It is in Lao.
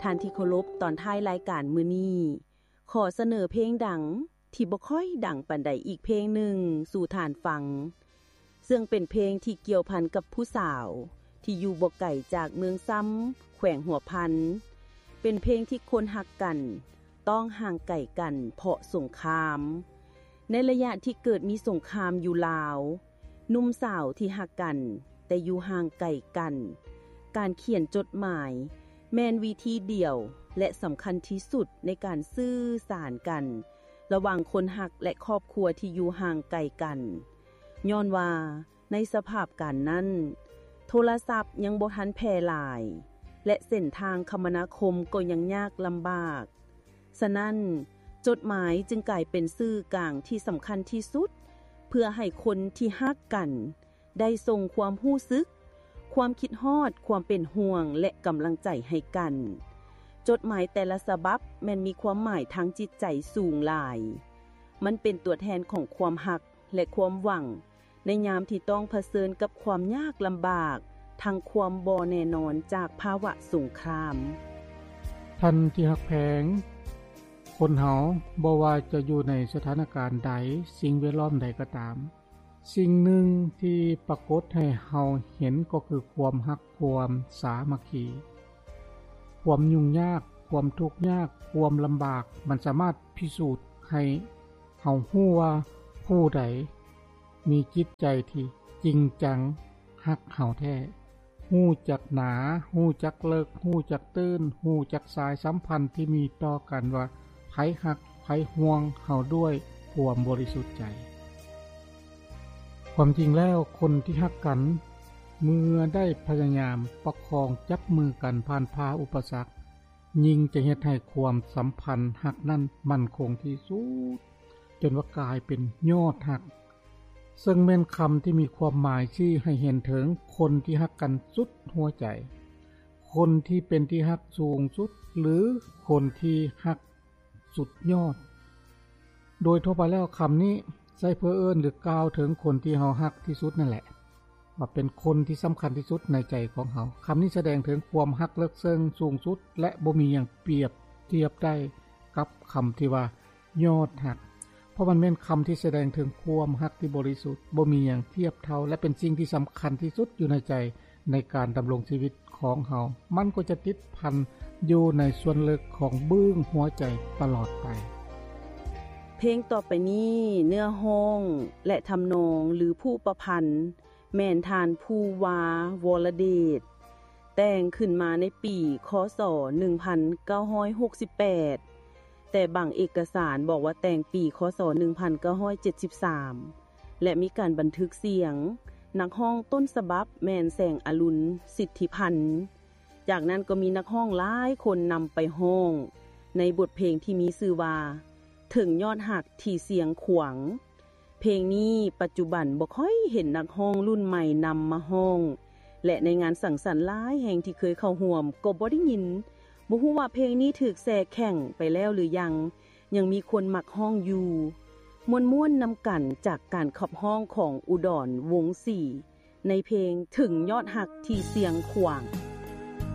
ທ່ານທີ່ເຄົາລົບ, ຕອນທ້າຍລາຍການມື້ນີ້ ຂໍສະເໜີເພງດັງທີ່ບໍ່ຄ່ອຍດັງປານໃດອີກເພງໜຶ່ງສູ່ທ່ານຟັງ, ເຊິ່ງເປັນເພງທີ່ກ່ຽວພັນກັບຜູ້ສາວທີ່ຢູ່ບໍ່ໄກຈາກເມືອງຊຳ ແຂວງຫົວພັນ. ເປັນເພງທີ່ຄົນຮັກກັນ ຕ້ອງຫ່າງໄກກັນເພາະສົງຄາມ. ໃນໄລຍະທີ່ເກີດມີສົງຄາມຢູ່ລາວ, ໜຸ່ມສາວທີ່ຮັກກັນແຕ່ຢູ່ຫ່າງໄກກັນ, ການຂຽນຈົດໝາຍແມ່ນວິທີດຽວ ແລະ ສຳຄັນທີ່ສຸດໃນການສື່ສານກັນລະຫວ່າງຄົນຮັກ ແລະ ຄອບຄົວທີ່ຢູ່ຫ່າງໄກກັນ, ຍ້ອນວ່າ ໃນສະພາບການນັ້ນ, ໂທລະສັບຍັງບໍ່ທັນແຜ່ຫຼາຍ ແລະ ເສັ້ນທາງຄະມະນາຄົມກໍຍັງຍາກລຳບາກ. ສະນັ້ນ, ຈົດໝາຍຈຶ່ງກາຍເປັນສື່ກາງທີ່ສຳຄັນທີ່ສຸດ ເພື່ອໃຫ້ຄົນທີ່ຮັກກັນໄດ້ສົ່ງຄວາມຮູ້ສຶກ, ຄວາມຄິດຮອດ, ຄວາມເປັນຫ່ວງ ແລະ ກຳລັງໃຈໃຫ້ກັນ. ຈົດໝາຍແຕ່ລະສະບັບແມ່ນມີຄວາມໝາຍທາງຈິດໃຈສູງຫຼາຍ. ມັນເປັນຕົວແທນຂອງຄວາມຮັກ ແລະ ຄວາມຫວັງ ໃນຍາມທີ່ຕ້ອງຜະເຊີນກັບຄວາມຍາກລຳບາກ ທັງຄວາມບໍ່ແນ່ນອນຈາກພາວະສົງຄາມ. ທ່ານທີ່ຮັກແພງ, ຄົນເຮົາບໍ່ວ່າຈະຢູ່ໃນສະຖານະການໃດ, ສິ່ງແວດລ້ອມໃດກໍຕາມ, ສິ່ງໜຶ່ງທີ່ປາກົດໃຫ້ເຮົາເຫັນກໍຄືຄວາມຮັກ, ຄວາມສາມັກຄີ. ຄວາມຫຍຸ້ງຍາກ, ຄວາມທຸກຍາກ, ຄວາມລຳບາກ, ມັນສາມາດພິສູດໃຫ້ ເຮົາຮູ້ວ່າຜູ້ໃດມີຈິດໃຈທີ່ຈິງຈັງຮັກເຮົາແທ້, ຮູ້ຈັກໜາ, ຮູ້ຈັກເລິກ, ຮູ້ຈັກຕື້ນ, ຮູ້ຈັກສາຍສຳພັນທີ່ມີຕໍ່ກັນວ່າໃຜຮັກ, ໃຜຫ່ວງເຮົາດ້ວຍຄວາມບໍລິສຸດໃຈ. ຄວາມຈິງແລ້ວ, ຄົນທີ່ຮັກກັນ ເມື່ອໄດ້ພະຍາຍາມປະຄອງຈັບມືກັນຜ່ານຜ່າອຸປະສັກ, ຍິ່ງຈະເຮັດໃຫ້ຄວາມສຳພັນຮັກນັ້ນໝັ້ນຄົງທີ່ສຸດ, ຈົນວ່າກາຍເປັນຍອດຮັກ, ເຊິ່ງແມ່ນຄຳທີ່ມີຄວາມໝາຍຊີ້ໃຫ້ເຫັນເຖິງຄົນທີ່ຮັກກັນສຸດຫົວໃຈ, ຄົນທີ່ເປັນທີ່ຮັກສູງສຸດ ຫຼື ຄົນທີ່ຮັກສຸດຍອດ. ໂດຍທົ່ວໄປແລ້ວ, ຄຳນີ້ໃຊ້ເພື່ອເອີ້ນ ຫຼື ກ່າວເຖິງຄົນທີ່ເຮົາຮັກທີ່ສຸດນັ້ນແຫຼະ. ວ່າເປັນຄົນທີ່ສຳຄັນທີ່ສຸດໃນໃຈຂອງເຮົາ. ຄຳນີ້ສະແດງເຖິງຄວາມຮັກເລິກເຊິ່ງສູງສຸດ ແລະ ບໍ່ມີຫຍັງປຽບທຽບໄດ້ກັບຄຳທີ່ວ່າຍອດຮັກ, ເພາະມັນແມ່ນຄຳທີ່ສະແດງເຖິງຄວາມຮັກທີ່ບໍລິສຸດ, ບໍ່ມີຫຍັງທຽບເທົ່າ ແລະ ເປັນສິ່ງທີ່ສຳຄັນທີ່ສຸດຢູ່ໃນໃຈໃນການດຳລົງຊີວິດຂອງເຮົາ. ມັນກໍຈະຕິດພັນຢູ່ໃນສ່ວນເລິກຂອງບຶ້ງຫົວໃຈຕະຫຼອດໄປ. ເພງຕໍ່ໄປນີ້ ເນື້ອຮ້ອງ ແລະ ທຳນອງ ຫຼື ຜູ້ປະພັນ ແມ່ນທ່ານ ພູວາ ວໍລະເດດ ແຕ່ງຂຶ້ນມາໃນປີ ຄ.ສ. ໜຶ່ງພັນເກົ້າຮ້ອຍຫົກສິບແປດ ແຕ່ບາງເອກະສານບອກວ່າແຕ່ງປີ ຄ.ສ. ໜຶ່ງພັນເກົ້າຮ້ອຍເຈັດສິບສາມ ແລະ ມີການບັນທຶກສຽງນັກຮ້ອງຕົ້ນສະບັບແມ່ນ ແສງອະລຸນ ສິດທິພັນ. ຈາກນັ້ນກໍມີນັກຮ້ອງຫຼາຍຄົນນຳໄປຮ້ອງໃນບົດເພງທີ່ມີຊື່ວ່າ ເຖິງຍອດຮັກທີ່ຊຽງຂວາງ. ເພງນີ້ປັດຈຸບັນບໍ່ຄ່ອຍເຫັນນັກຮ້ອງລຸ້ນໃໝ່ນຳມາຮ້ອງ ແລະ ໃນງານສັງສັນຫຼາຍແຫ່ງທີ່ເຄີຍເຂົ້າຮ່ວມກໍບໍ່ໄດ້ຍິນ, ບໍ່ຮູ້ວ່າເພງນີ້ຖືກແຊ່ແຂງໄປແລ້ວຫຼືຍັງ, ຍັງມີຄົນມັກຮ້ອງຢູ່. ມ່ວນໆນຳກັນຈາກການຂັບຮ້ອງຂອງອຸດອນ ວົງສີ ໃນເພງເຖິງຍອດຮັກທີ່ຊຽງຂວາງ.